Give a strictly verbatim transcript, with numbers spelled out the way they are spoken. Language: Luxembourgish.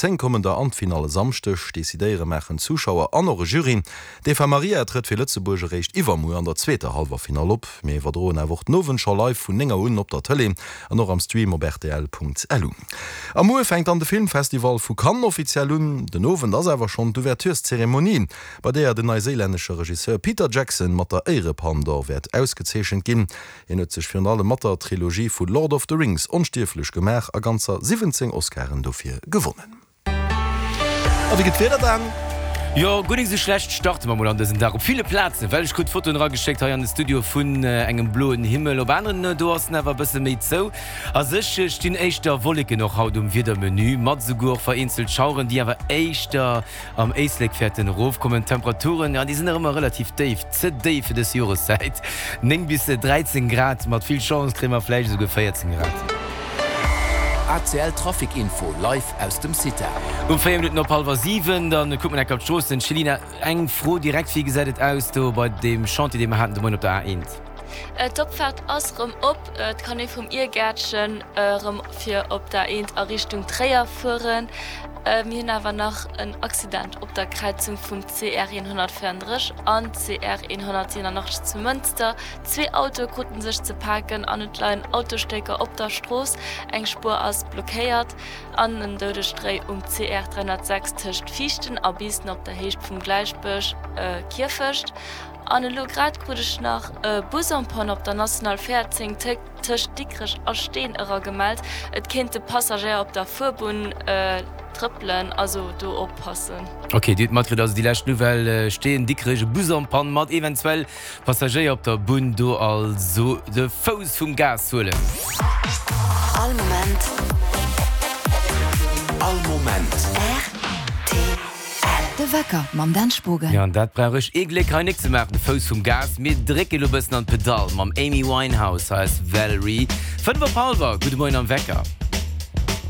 Déi zéng kommen der an d'Finall e Samschdeg. Decidéiere maachen d'Zuschauer an och e Jury. D'Eva Marija trëtt fir Lëtzebuerg eréischt iwwermuer an der zweeter Hallwerfinall op. Mir iwwerdroen awer och den Owend scho live vun néng Auer un op der Tëlee an och am Stream op rtl.lu. A muer fänkt dann de Filmfestival vu Cannes offiziell un. Den Owend ass awer schonn d'Ouvertureszeremonie, bei deeër den neiséilännesche Regisseur Peter Jackson mat der Éierepalm d'Or wäert ausgezeechent ginn. Hien huet sech virun allem mat der Trilogie vu Lord of the Rings onstierflech gemaach a ganzer siwwenzéng Oscaren dofir gewonnen. A wéi gëtt d'Wieder dann? Jo, guer nik sou schlecht starte mer mol an dësen Dag. Op ville Plazen, well ech krut Fotoen erageschéckt hei an de Studio vun engem bloen Himmel. Op aneren do ass en awer e bësse méi zou. A sech stinn éischter Wolleken och haut um Wiedermenü, mat esouguer och vereenzelt Schaueren, déi awer éischter am Éislek wäerten erofkommen. D'Temperaturen, jo, déi sinn nach ëmmer relativ déif, ze déif fir dës Joreszäit, néng bis dräizéng Grad, mat vill Chance kréie mer vläicht esouguer véierzéng Grad. A C L Trafic Info live aus dem Cita. Um véier Minutten op hallwer siwen, da kucke mer enk op d'Stroossen. Céline, eng Fro direkt, Wéi gesäit et aus do bei deem Chantier, dee mer haten de Moien op der A eent? D'Opfaart ass rëm op. Et kann ee vum Iergäertchen rëm fir op der A eent a Richtung Tréier fueren. Mir hunn awer nach en Accident op der Kräizung vum C R honnertvéierendrësseg an C R honnertsiwenunachtzeg zu Mënster. Zwee Autoe kruten sech ze paken an et leien Autostécker op der Strooss. Eng Spuer ass blockéiert an en doudegt Réi um C R dräihonnertsechs tëscht Viichten a Biissen op der Héicht vum Gläichbësch Kierfecht. An elo grad krut ech nach e Bus en panne op der National véierzéng tëscht Dikrech a Steen era gemellt. Et kéinte Passagéier op der Fuerbunn trëppelen, also do oppassen. Ok, Dir hutt matkritt, also déi lescht Nouvelle, Steen, Dikrech, e Bus en panne mat eventuell Passagéier op der Bunn, do also de Fouss vum Gas huelen. All Moment. All Moment. R T L. De Wecker mam Dan Spogen. Jo, an dat brauch ech ee Gléck hei nik ze maachen, de Fouss vum Gas. Mir drécke lo bëssen an d'Pedall mam Amy Winehouse. Hei ass Valerie. Fënnef op hallwer, gudde Moien am Wecker.